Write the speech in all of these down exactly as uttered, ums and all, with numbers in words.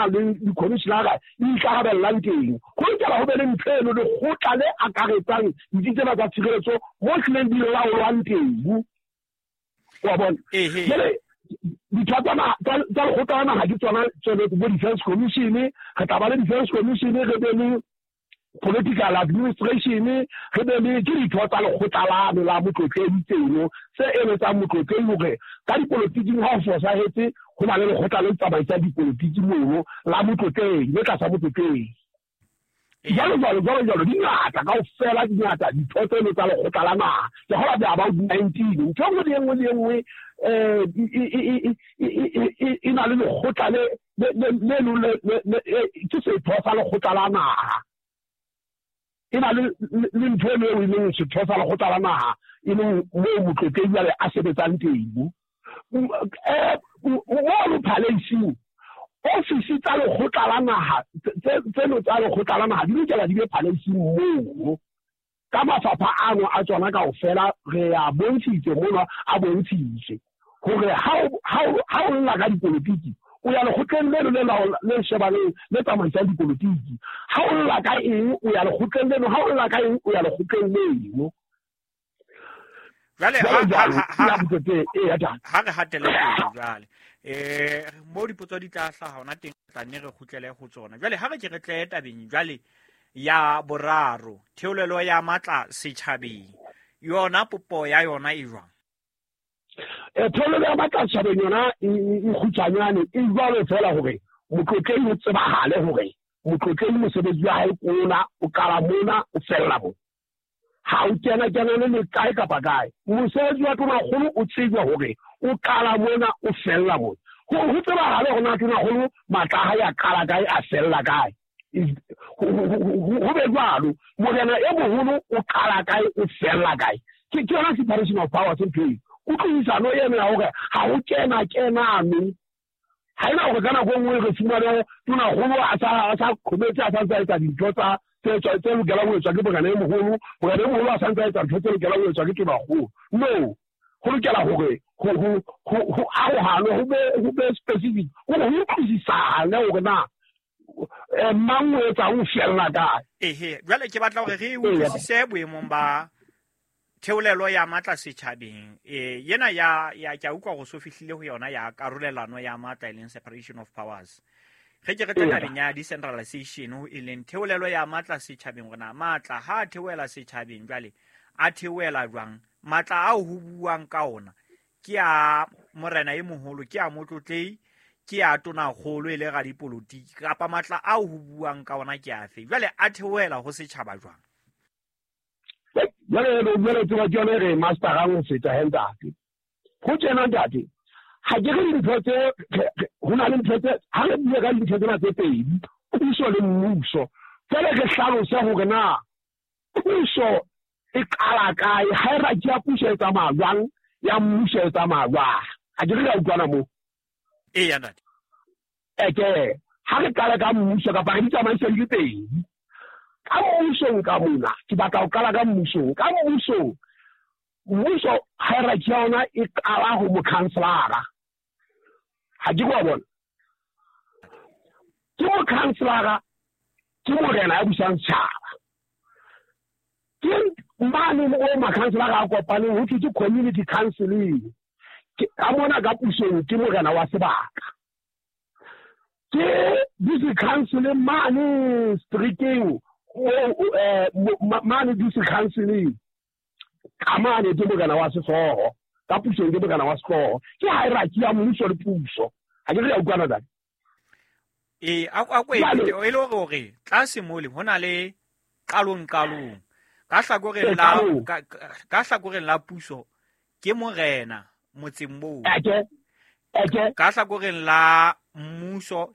Le dikhomishenara di ikarabellang teng. Ho lokela ho be le ntho eno, lekgotla le akaretsang ditsi tsena tsa tshireletso mo hlileng di laolwang teng. Wa bona? Jwale ditho tsa tsa lekgotla la naha ke tsona tsone bo defense commission, re tla ba le defense commission, re be le political administration, re be le ke ditho tsa lekgotla lano la motlotlehi tseno se eletsang motlotlehi hore ka dipolotiking ha ho fosahetse ho na le lekgotla le tsamaisang dipolotiki mono la motlotlehi le tlasa motlotlehi. Jwalo jwalo jwalo jwalo di ngata kaofela, di ngata ditho tseno tsa lekgotla la naha. Ke kgolwa di about nineteen. Ntho e nngwe le e nngwe le e nngwe um e na le lekgotla le le le ke setho sa lekgotla la naha. E na le le ntho eno eo e leng setho sa lekgotla la naha, e leng moo motlotlehi jwale a sebetsang teng. Mono palace-ing, ofisi tsa lekgotla la naha tseno tsa lekgotla la naha di lokela di be palace-ing mono. Ka mafapha ano a tsona kaofela re a bontshitse mono, a bontshitse hore ha o lla ka dipolotiki o ya lekgotleng leno le le shebaneng le tsamaisang dipolotiki. Ha o lla ka eng o ya lekgotleng leno, ha o lla ka eng o ya lekgotleng leno. Jwale ha re hatele pele jwale eh mo dipotso di tla hlaha hona teng, tla nne re kgutlele ho tsona. Jwale ha re ke re tle tabeng jwale ya boraro, theolelo ya matla setjhabeng, yona popo ya yona e jwang? E theolelo ya matla setjhabeng yona e kgutshwanyane e jwalo feela hore motlotlehi o tsebahale hore motlotlehi mosebetsi wa hae ke ona, o qala mona o fella mona. Ha o kena kena le kae kapa kae. Mosebetsi wa tonakgolo o tsejwa hore o qala mona o fella mona. Ho tsebahale hore na tonakgolo matla a hae a qala kae a fella kae. Ho be jwalo, morena e moholo o qala kae o fella kae. Ke yona separation of powers ntho eo. Kutlwisisano eno ya hore ha ho kena kenano. Ha ena hore ka nako e nngwe re fumane tonakgolo a sa a sa qhometse a sa ntse a etsa dintho tsa tse tse lokelang ho etswa ke morena e moholo, morena e moholo a sa ntse a etsa ntho tse lokelang ho etswa ke tonakgolo. No, ho lokela hore ho ho ho arohanwe, ho be ho be specific, hore ho utlwisisane hore na mang o etsang o fella kae. Ehe, jwale ke batla hore re utlwisise boemong ba theolelo ya matla setjhabeng. Eh yena ya ya ke a utlwa hore so fihlile ho yona ya karolelano ya matla e leng separation of powers. Re ke re tle tabeng ya decentralization e leng theolelo ya matla setjhabeng, hore na matla ha a theohela setjhabeng jwale a theohela jwang? Matla ao ho buang ka ona ke a morena e moholo, ke a motlotlehi, ke a tonakgolo e le radipolotiki, kapa matla ao ho buang ka ona ke afe? Jwale a theohela ho setjhaba jwang? Jwale jwale tseba ke yona e re masterang ho feta he ntate. Ho tjena ntate, ha ke re dintho tse ho na le ntho tse ha re bue ka dintho tsena tse pedi, puso le mmuso. Jwale re hlalose hore na puso e qala kae, hierarchy ya puso e tsamaya jwang, ya mmuso e tsamaya jwang. Ha ke re re a utlwana moo? Eya ntate. Eke ha re qala ka mmuso kapa re di tsamaise di le pedi. Ka mmusong ka mona, ke batla ho qala ka mmusong. Ka mmusong, mmuso hierarchy ya ona e qala ho mokhanselara. Ha ke wa bona? Ke mokhanselara, ke morena ya busang setjhaba. Ke mane mo makhanselara a kopaneng ho thwe ke community counseling. Ka mona ka pusong ke morena wa sebaka. Ke district council mane streeteng, mane district council ka mane ke morena wa sehlooho. Ka pusong ke morena wa sehlooho. Ke hierarchy ya mmuso le puso. Ha ke re ya utlwana ntate? Ee, a ko e le hore tlase mole ho na le qalong qalong. Ka hlakoreng la ka hlakoreng la puso ke morena motseng moo. Eke, eke. Ka hlakoreng la mmuso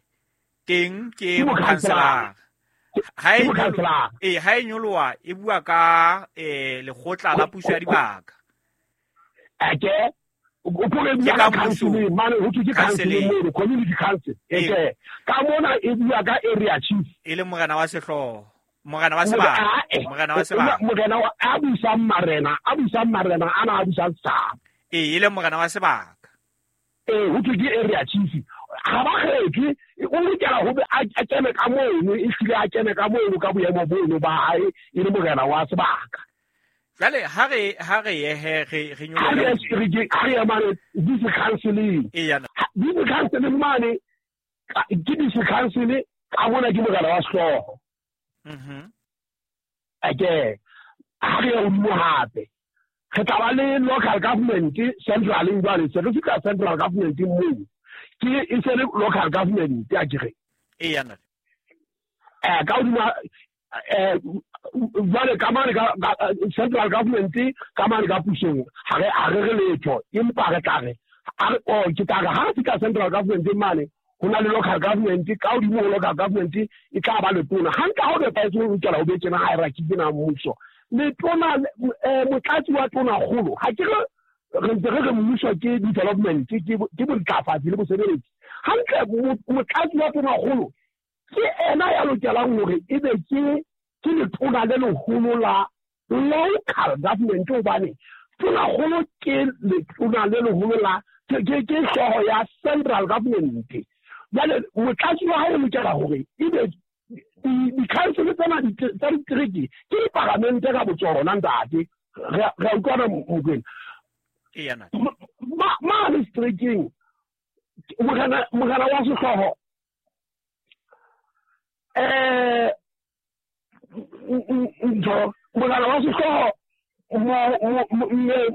teng ke mokhanselara. Ha e eh ha e nyoloha e bua ka eh lekgotla la puso ya dibaka. Eke, o pore bua ka council mane ho thwe ke council mono, community council. Eke, ka mona e bua ka area chief. E le morena wa sehlooho, morena wa sebaka, morena wa sebaka. Morena wa a busang marena, a busang marena ana a busang setjhaba. Ee, e le morena wa sebaka. Ee, ho thwe ke area chief. Ha ba kgethwe O lokela ho be a kene ka mono, e hlile a kene ka mono ka boemo bono ba hae e le morena wa sebaka. Jwale ha re ha re ye re re nyoloha ha re ya mane district council-eng. District council mane ke district council ka mona ke morena wa sehlooho. Mhm. Ake ha re ya hodimo hape re tla ba le local government central jwale se re fihla central government moo ke e se le local government ya kere. Eya ntate. Eh ka hodimo eh jwale ka mane ka central government ka mane ka pusong ha re ha re re letho, empa re tla re o ke tla re ha re fihla central government mane ho na le local government ka hodimo ho local government e tla ba letona. Hantle ha o nepahetse ho lokela ho be tjena hierarchy tsena mmuso. Letona motlatsi wa tona kgolo ha ke re re ntse re re mmuso ke development ke ke bontlafatsi le bosebeletsi. Hantle motlatsi wa tona kgolo ke ena ya lokelang hore ebe ke ke letona le leholo la local government, hobane tona kgolo ke letona le leholo la ke ke hlooho ya central government. Jwale motlatsi wa hae o lokela hore ebe di-council tsena tsa ditereke ke diparamente ka botsona ntate. Re a utlwana Mokwena? Eya ntate. Mane seterekeng morena morena wa sehlooho eh ntho morena wa sehlooho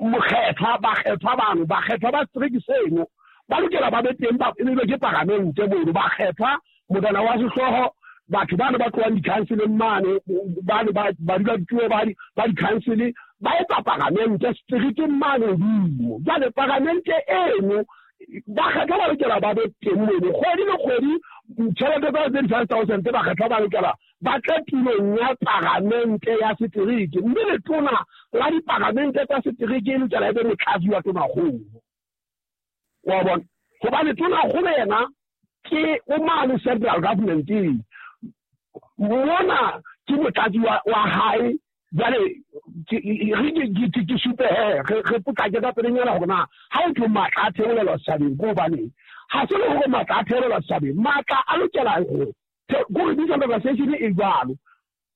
mokgethwa bakgethwa bano bakgethwa ba setereke seno ba lokela ba be teng ba ebe ke paramente mono bakgethwa morena wa sehlooho batho bana ba tlohang di-councileng mane bane ba dula dituo ba di-council ba etsa paramente seterekeng mane hodimo. Jwale paramente eno bakgethwa ba lokela ba be teng mono kgwedi le kgwedi tjhelete tsa thirty-five thousand bakgethwa ba lokela ba tle tulong ya paramente ya setereke, mme letona la diparamente tsa setereke e lokela e be motlatsi wa tonakgolo. Wa bona? Hobane tonakgolo yena ke o mane central government-eng mona ke motlatsi wa hae. Jwale re ke supe he re potlake ka pelenyana hore na ha o thwe matla a theolelwa setjhabeng ke hobaneng. Ha se le hore matla a theolelwa setjhabeng, matla a lokela ho kore decentralization e jwalo.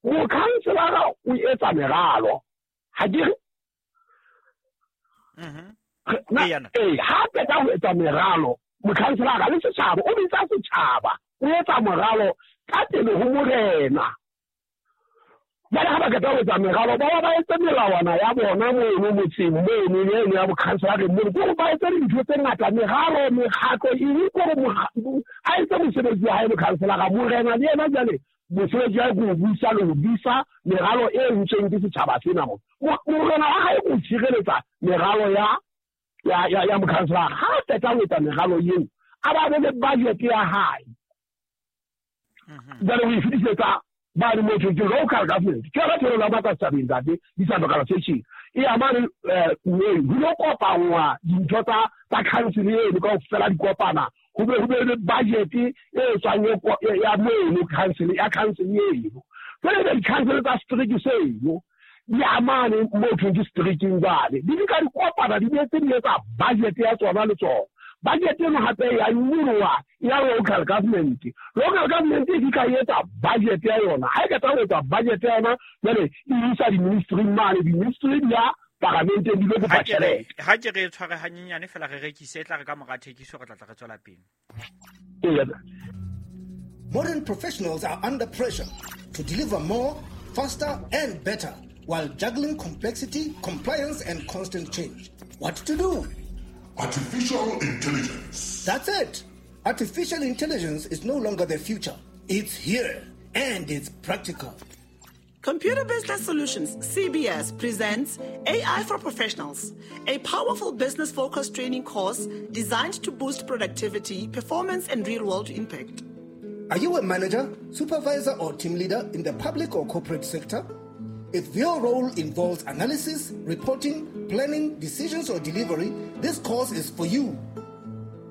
Mokhanselara o etsa meralo ha ke re ee ha qeta ho etsa meralo mokhanselara le setjhaba o bitsa setjhaba o etsa moralo ka pele ho morena. Jwale ha ba qeta ho etsa meralo ba ba etse melawana ya bona mono motseng mono eno ya bokhanselareng mono, ke hore ba etse dintho tse ngata meralo mekgatlo eng kore a etse mosebetsi wa hae mokhanselara. Morena le yena jwale mosebetsi wa hae ke ho busa le ho disa meralo e entsweng ke setjhaba sena mo. Morena wa hae ke ho tshireletsa meralo ya ya ya ya mokhanselara. Ha qeta ho etsa meralo eo a ba be le budget ya hae jwale ho e fetisetsa ba re motho ke local government ke yona theolo ya matla setjhabeng ntate decentralization e amane ho lo kopanngwa dintho tsa tsa council eno kaofela di kopana ho be ho be le budget e tswang ya mono council ya council eno. Jwale ebe di-council tsa setereke seno di amane motho ke seterekeng jwale di ka di kopana di boetse di etsa budget ya tsona le tsona. Budget eno hape ya nyoloha ya local government. Local government e ka etsa budget ya yona. Ha e qeta ho etsa budget ya yona jwale e isa di-ministry mane, di-ministry di ya paramenteng di lo kopa tjhelete. Ha ke re tshware hanyenyane fela re rekise e tla re ka mora thekiso re tla tla re tswela pele. Eya. Modern professionals are under pressure to deliver more, faster and better while juggling complexity, compliance and constant change. What to do? Artificial intelligence. That's it. Artificial intelligence is no longer the future. It's here and it's practical. Computer Business Solutions, C B S, presents A I for Professionals, a powerful business-focused training course designed to boost productivity, performance, and real-world impact. Are you a manager, supervisor, or team leader in the public or corporate sector? If your role involves analysis, reporting, planning, decisions, or delivery, this course is for you.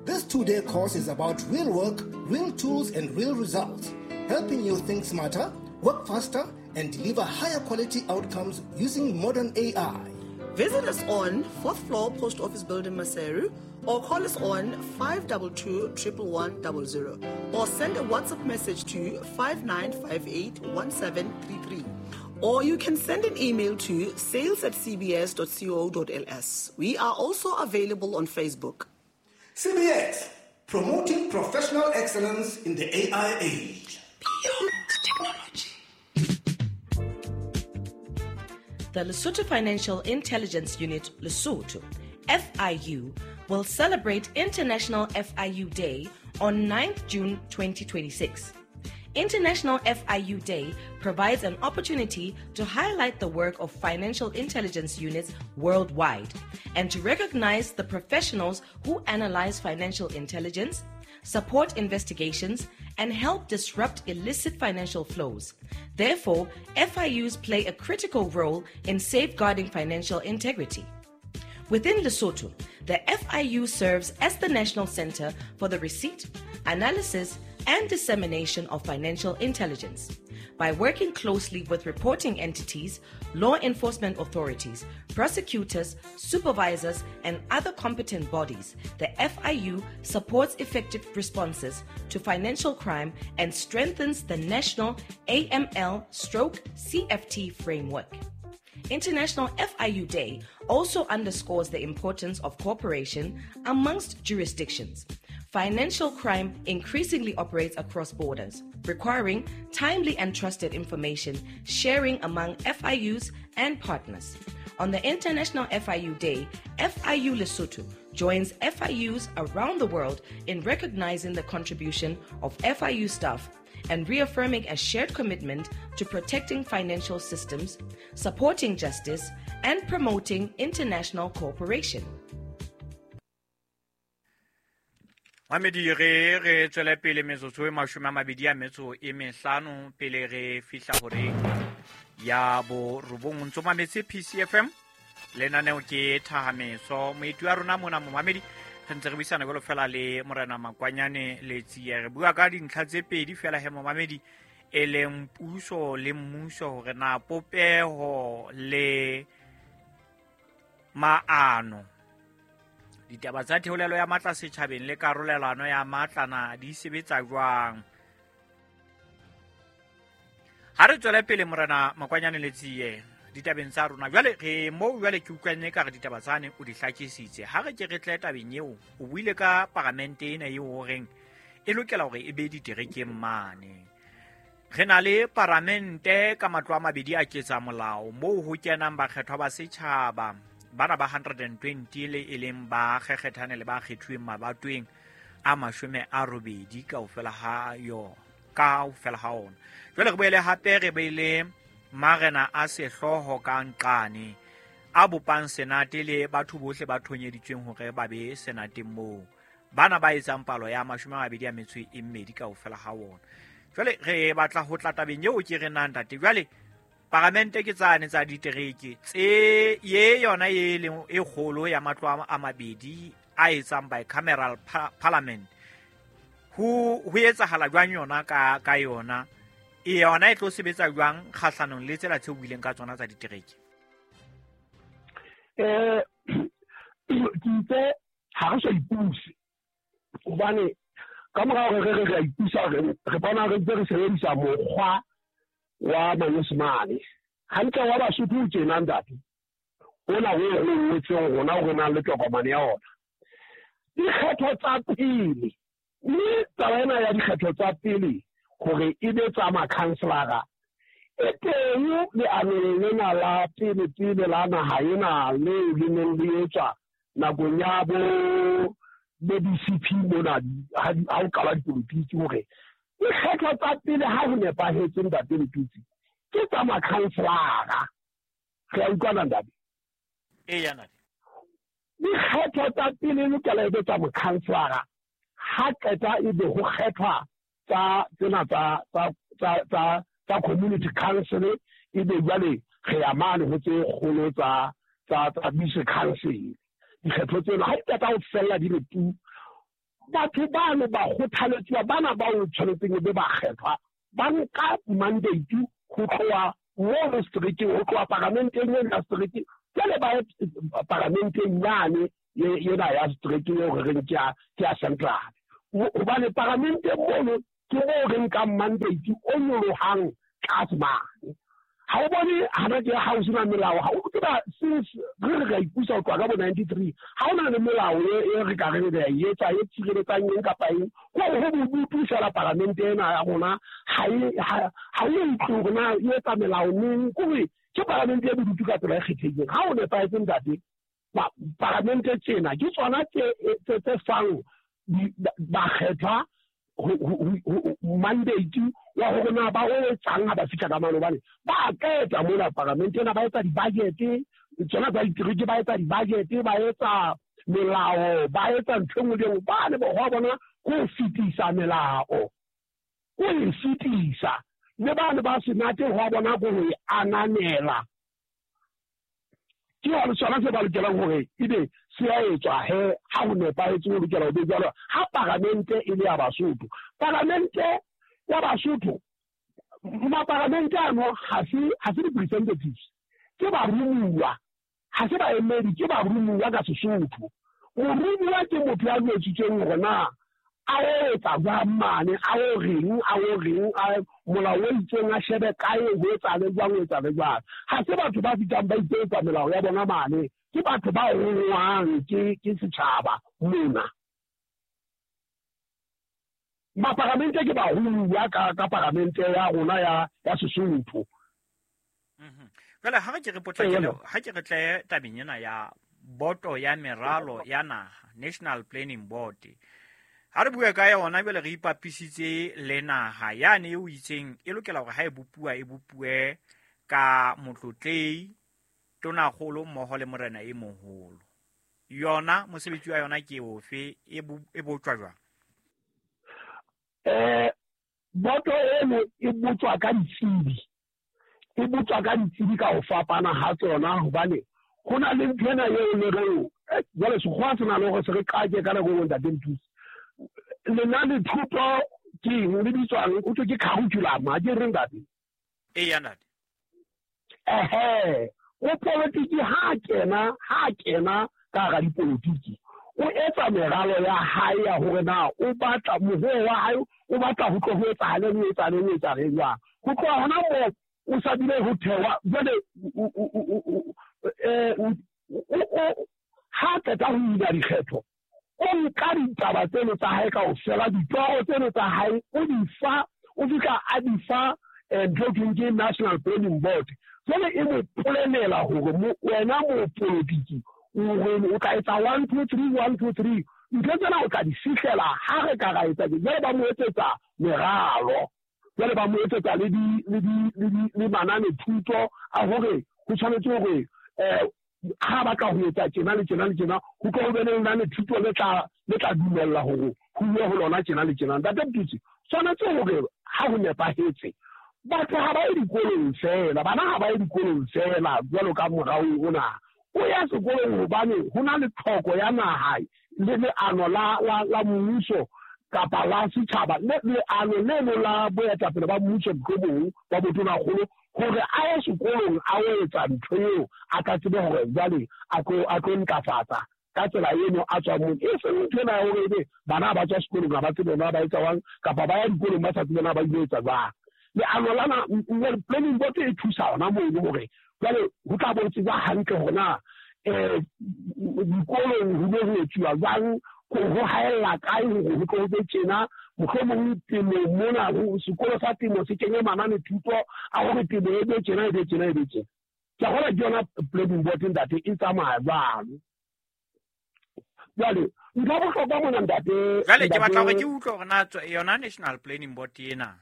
This two-day course is about real work, real tools, and real results, helping you think smarter, work faster, and deliver higher quality outcomes using modern A I. Visit us on fourth floor, Post Office Building, Maseru, or call us on five two two, one one one zero zero or send a WhatsApp message to five nine five eight, one seven three three. Or you can send an email to sales at c b s dot co dot l s. We are also available on Facebook. C B S, promoting professional excellence in the A I age. Beyond technology. The Lesotho Financial Intelligence Unit, Lesotho, F I U, will celebrate International F I U Day on ninth June twenty twenty-six. International F I U Day provides an opportunity to highlight the work of financial intelligence units worldwide and to recognize the professionals who analyze financial intelligence, support investigations, and help disrupt illicit financial flows. Therefore, F I Us play a critical role in safeguarding financial integrity. Within Lesotho, the F I U serves as the national center for the receipt, analysis, and dissemination of financial intelligence. By working closely with reporting entities, law enforcement authorities, prosecutors, supervisors, and other competent bodies, the F I U supports effective responses to financial crime and strengthens the national A M L stroke C F T framework. International F I U Day also underscores the importance of cooperation amongst jurisdictions. Financial crime increasingly operates across borders, requiring timely and trusted information sharing among F I Us and partners. On the International F I U Day, F I U Lesotho joins F I Us around the world in recognizing the contribution of F I U staff and reaffirming a shared commitment to protecting financial systems, supporting justice, and promoting international cooperation. Mamedi re re tswele pele metsotso e mashome a mabedi a metso e mehlano pele re fihla horeng ya borobong. Ntso mametse P C F M, lenaneo ke Thahameso. Moeti wa rona mona momamedi re ntse re buisana jwalo fela le Morena Makwanyane Letsie. Re bua ka dintlha tse pedi fela he momamedi, e leng puso le mmuso, hore na popeho le maano, ditaba tsa theolelo ya matla setjhabeng le karolelano ya matla na di sebetsa jwang. Ha re tswele pele Morena Makwanyane Letsie ditabeng tsa rona jwale, re moo jwale ke utlwanne ka re ditaba tsane o di hlakisitse. Ha re ke re tle tabeng eo, o buile ka paramente ena eo horeng e lokela hore e be diterekeng mane. Re na le paramente ka matlo a mabedi a ketsa molao moo ho kenang bakgethwa ba setjhaba bana ba one hundred twenty le e leng ba kgekgethane le ba kgethuweng mabatoweng a mashome a robedi kaofela ha yona, kaofela ha ona. Jwale re boele hape re beile marena a sehlooho ka nqane a bopang senate le batho bohle ba thonyeditsweng hore ba be senateng moo, bana ba etsang palo ya mashome a mabedi a metso e mmedi kaofela ha ona. Jwale re batla ho tla tabeng eo ke re nang ntate. Jwale paramente ke tsane tsa ditereke tse ye yona e leng e kgolo ya matlo a mabedi a etsang bicameral parliament, ho ho etsahala jwang yona ka ka yona e yona e tlo sebetsa jwang kgahlanong le tsela tse buileng ka tsona tsa ditereke? Eh ke itse ha re sa ipuse, hobane ka mora hore re re re a ipusa, re bona re ntse re sebedisa mokgwa wa manyesemane hantle wa Basotho o tjena ntate ona o re ngotseng rona o re nang le tokomane ya ona. Dikgetho tsa pele, mme taba ena ya dikgetho tsa pele hore e be tsa makhanselara e teng leanong lena la pele pele la naha ena leo le neng le etswa nakong ya bo bo B C P mona ha o qala dipolotiki, hore dikgetho tsa pele ha ho nepahetse ntate Letutsi ke tsa makhanselara. Re a utlwana ntate? Eya ntate. Dikgetho tsa pele lokela e be tsa mokhanselara, ha qeta e be ho kgethwa tsa tsena tsa tsa tsa tsa community council, e be jwale re ya mane ho tse kgolo tsa tsa tsa district council. Dikgetho tsena ha di qeta ho fella di le tu, batho bano ba kgothaletswa bana ba o tshwanetseng be ba kgethwa ba nka mandate ho tloha mo districteng, ho tloha paramenteng ena districteng, jwale ba paramenteng yane yena ya setereke eo re reng ke ya ke ya central. Hobane paramente mono ke moo re nkang mandate o nyolohang tlase mane. Ha o bone hana ke ha o sena melao, ha o tseba since re re ka ipusa ho tloha ka bo ninety-three, ha o na le melao e re ka reng re e etsa e tshireletsang eng kapa eng, ko ho bodutu fela paramente ena ya rona ha e ha o utlwe hore na e etsa melao neng, kore ke paramente e bodutu ka tsela e kgethehileng. Ha o nepahetse ntate, paramente tsena ke tsona tse tse fang bakgethwa mandate wa hore na ba o etsang ha ba fihla ka mane, hobane ba qeta mona paramente ena ba etsa di-budget, tsona tsa ditereke ba etsa di-budget, ba etsa melao, ba etsa ntho e nngwe le e nngwe. Ba ne bohwa bona ko ho fetisa melao, ko e fetisa, le ba ne ba senate hwa bona ko ho e ananela. Ke yona sona se ba lokelang hore ebe se a etswa he ha ho nepahetse ho lokela ho be jwalo. Ha paramente e le ya Basotho, paramente ya Basotho, maparamente ano ha se ha se di-representatives, ke barumuwa, ha se baemedi, ke barumuwa ka Sesotho. Morumuwa ke motho ya jwetsitsweng hore na a o etsa jwang mane, a o reng, a o reng, a molao o itseng a shebe kae, ho etsale jwang, ho etsale jwang. Ha se batho ba fihlang ba iketsa melao ya bona mane, ke batho ba rongwang ke ke setjhaba mona. Maparamente ke barumuwa ka ka paramente ya rona ya ya Sesotho. Mhm. Jwale ha re ke re potlakele, ha ke re tle tabeng ena ya boto ya meralo ya naha, National Planning Board. Ha re bue ka yona jwale re ipapisitse le naha yane eo itseng e lokela hore ha e bopuwa e bopuwe ka motlotlei, tonakgolo mmoho le morena e moholo. Yona mosebetsi wa yona ke ofe, e e botjwa jwang? Eh boto eno e botswa ka ditsebi, e botswa ka ditsebi ka ho fapana ha tsona, hobane ho na le ntho ena eo le reng jwale sekgowa se na le hore se re qake ka nako e nngwe ntate Nthusi. Lenane thuto ke eng le bitswang, o thwe ke curriculum, ha ke re ntate? Eya ntate. Ehe, o politiki ha kena, ha kena ka hara dipolotiki, o etsa meralo ya hae ya hore na o batla mohoe wa hae, o batla ho tlo ho etsahaleng, ho etsahaleng, ho etsahaleng jwang. Ho tloha hona moo o sa bile ho thewa jwale ha qeta ho wina dikgetho, o nka ditaba tseno tsa hae kaofela, ditoro tseno tsa hae o di fa, o fihla a di fa ntho e thweng ke National Planning Board. Jwale e mo polenela hore wena mopolotiki o tla etsa one two three, one two three, ntho tsena o tla di fihlela ha re ka ra etsa. Jwale ba mo etsetsa meralo, jwale ba mo etsetsa le di le di le manane thuto a hore ho tshwanetse hore eh ha batla ho etsa tjena le tjena le tjena, ho tlo ho be le lenane thuto le tla le tla dumella hore ho uwe ho lona tjena le tjena. Ntate Mtutsi, tshwanetse hore ha ho nepahetse, batho ha ba ye dikolong fela, bana ha ba ye dikolong fela jwalo ka morao ona. O ya sekolong hobane ho na le tlhoko ya naha le leano la la la mmuso kapa la setjhaba, le leano leno la boetapele ba mmuso mohlomong ba botonakgolo, hore a ye sekolong a o etsa ntho eo a tla tsebe hore jwale a tlo a tlo ntlafatsa ka tsela eno a tswang moo. E seng ntho ena ya hore ebe bana ba tswa sekolong ha ba tsebe na ba etsa jwang, kapa ba ya dikolong ba sa tsebe na ba ile etsa jwang. Leano lana planning board e thusa hona mono hore jwale ho tla bo tsejwa hantle hore na eh dikolong ho ile ho etsuwa jwang, ho haella kae hore ho tlo ho be tjena, mohlomong temong mona sekolo sa temo se kenye manane thuto a hore temo e be tjena, e be tjena, e be tjena. Ke a kgolwa ke yona planning board ntate e tsamaya jwalo. Jwale ntho ya bohlokwa mona ntate, jwale ke batla hore ke utlwe hore na yona National Planning Board ena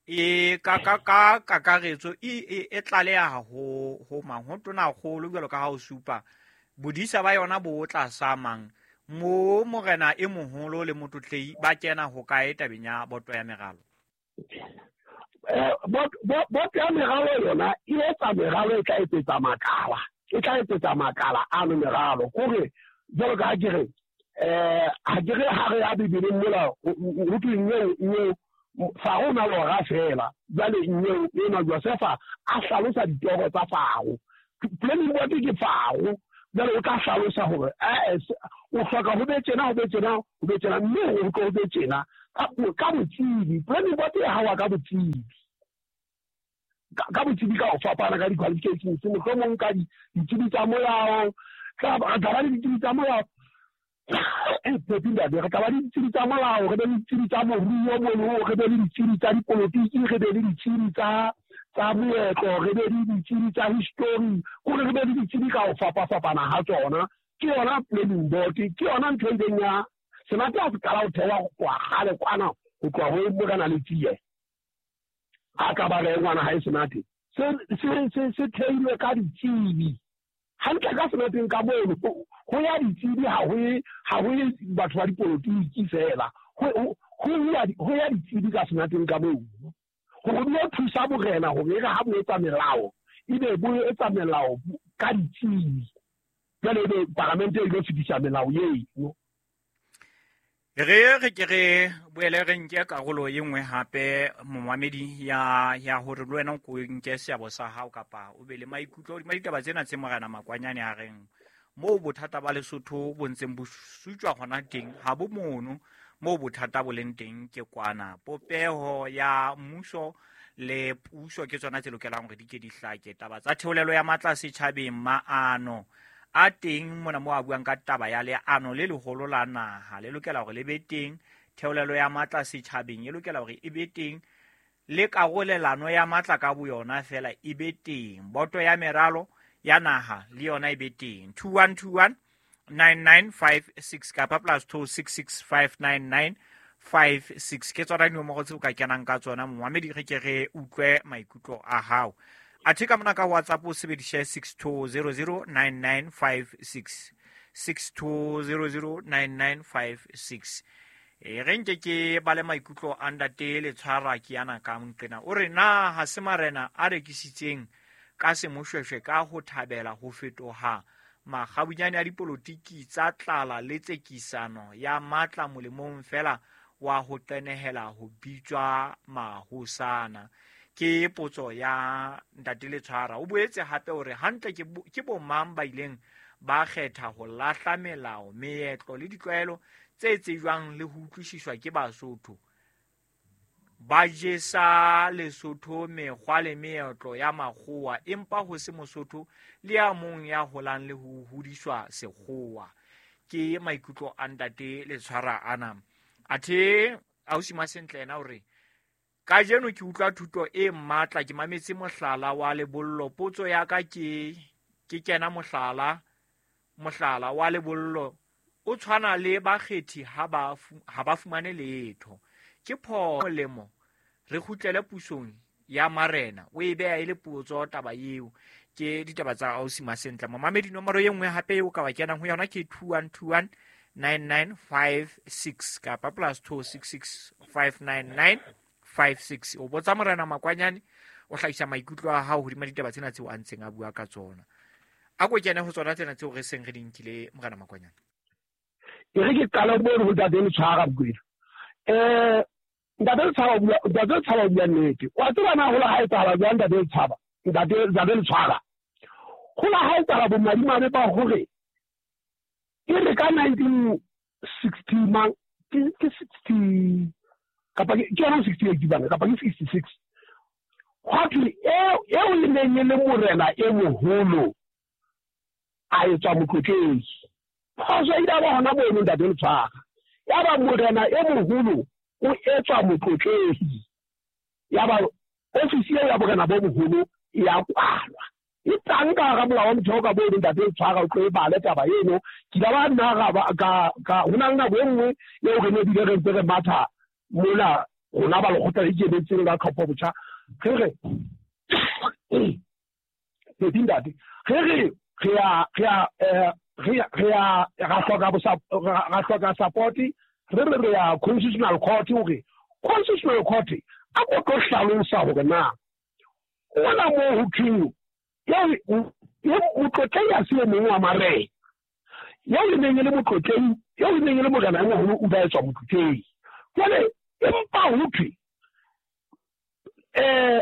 e ka ka ka kakaretso e e tlaleha ho ho mang, ho tonakgolo jwalo ka ha o supa bodisa ba yona bo tlasa mang, mo morena e moholo le motlotlei ba kena ho kae tabeng ya boto ya meralo? Eh boto ya meralo yona e etsa meralo e tla etsetsa makala, e tla etsetsa makala ano meralo. Kore jwalo ka ha ke re eh ha ke re ha re ya Bibeleng mola ho thwe nnyeo nnyeo Faro na lora fela, jwale nnyeo ena Josefa a hlalosa ditoro tsa Faro. Planning board ke Faro, Jwale o tla hlalosa hore eh o hloka ho be tjena ho be tjena ho be tjena mme ho tlo be tjena ka ka botsebi. Planning board e hawa ka botsebi. Ka botsebi ka ho fapana ka di-qualifications, mohlomong ka ditsebi tsa molao, ka re tla ba le ditsebi tsa molao. Re tla ba le ditsebi tsa molao, re be le ditsebi tsa moruo mono, re be le ditsebi tsa dipolotiki, re be le ditsebi tsa tsa moetlo, re be le ditsebi tsa history, kore re be le ditsebi ka ho fapafapana ha tsona. Ke yona planning board, ke yona ntho e ileng ya Senate ha se qala ho thewa ho tloha kgale kwana, ho tloha ho Morena Letsie. A ka ba re ngwana hae Senate se se se se theilwe ka ditsebi. Hantle ka Senateng ka mono ho ya ditsebi, ha ho ha ho batho ba dipolotiki fela, ho ho ya ho ya ditsebi ka Senateng ka mono. Hore di thusa borena hore re ha bo etsa melao, ebe bo etsa melao ka ditsebi. Jwale ebe paramente e tlo fetisa melao eno. Re re ke re boele re nke karolo e nngwe hape momamedi ya ya hore le wena o nke seabo sa hao kapa o be le maikutlo hodima ditaba tsena tse Morena Makwanyane a reng moo bothata ba Lesotho bo ntseng bo sutjwa hona teng ha bo mono moo bothata bo leng teng ke kwana. Popeho ya mmuso le puso ke tsona tse lokelang hore di ke di hlake. Taba tsa theolelo ya matla setjhabeng, maano a teng mona mo a buang ka taba ya leano le leholo la naha le lokela hore le be teng, theolelo ya matla setjhabeng e lokela hore e be teng, le karolelano ya matla ka boyona fela e be teng, boto ya meralo ya naha le yona e be teng. two one two one nine nine five six kapa plus two six six five nine nine five six ke tsona dinomoro tseo ka kenang ka tsona. Momamedi re ke re utlwe maikutlo a hao. Athe ka mona ka WhatsApp o sebedise six two zero zero nine nine five six, six two zero zero nine nine five six. E re nke ke ba le maikutlo a ntate Letshwara ke yana ka nqena. O re na ha se marena a rekisitseng ka semoshweshwe ka ho thabela ho fetoha makgabunyane a dipolotiki tsa tlala le tsekisano ya matla molemong fela wa ho qenehela ho bitswa mahosana. Ke potso ya ntate Letshwara. O boetse hape hore hantle ke ke bomang ba ileng ba kgetha ho lahla melao, meetlo le ditlwaelo tse tsejwang le ho utlwisiswa ke Basotho. Ba jesa Lesotho mekgwa le meetlo ya makgowa, empa ho se Mosotho le ya mong ya holang le ho hodiswa sekgowa. Ke maikutlo a ntate Letshwara ana. Athe ausi Masentle yena o re kajeno ke utlwa thuto e matla, ke mametse mohlala wa lebollo. Potso ya ka ke ke kena mohlala mohlala wa lebollo o tshwana le bakgethi ha ba ha ba fumane letho. Ke pho molemo re kgutlele pusong ya marena. O e beha e le potso taba eo. Ke ditaba tsa ausi Masentle. Momamedi nomoro e nngwe hape eo ka wa kenang ho yona ke two one two one nine nine five six kapa plus two six six five nine nine five six. O botsa Morena Makwanyane, o hlahisa maikutlo a hao hodima ditaba tsena tseo a ntseng a bua ka tsona. A ko kene ho tsona tsena tseo re seng re di nkile Morena Makwanyane. E re ke qala mo ho ntate Letshwara Mokwena. Eh ntate Letshwara bua, ntate Letshwara bua nnete. Wa tseba na hola ha etsahala jwang ntate Letshwara? Ntate ntate Letshwara. Hola ha etsahala bo madimabe ba hore e re ka nineteen sixty mang ke ke sixty kapa ke yona sixty eight bana kapa ke sixty six. Hwa thwe eo eo e neng e le morena e moholo a etswa motlotlegi. Phoso e ile ba hona mono ntate Letshwara. Ya ba morena e moholo o etswa motlotlegi. Ya ba ofisi ya borena bo boholo ya kwalwa. E tang ka hara molao wa motheo ka mono ntate Letshwara o tlo e bale taba eno. Ke ile ba nna ga ka ka ho na le nako e nngwe eo re ne bile re ntse re matha mola rona ba lekgotla le ikemetseng la tlhopho botjha. Re re ntate re re re a re a re re a ra hloka ra hloka support, re re re ya constitutional court hore constitutional court a ko tlo hlalosa hore na ona moo ho thweng eo motlotlei a se e mong wa marena, eo e neng e le motlotlei, eo e neng e le morena e moholo o ba etswa motlotlei. Jwale empa ho thwe eh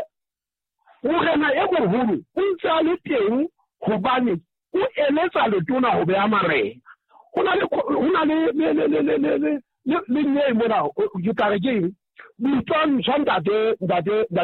morena e moholo o ntse a le teng hobane O eletsa letona ho beha marena. Ho na le ho na le le le le le le le le mona ke tla re ke eng? Boitwantsho ntate ntate ntate.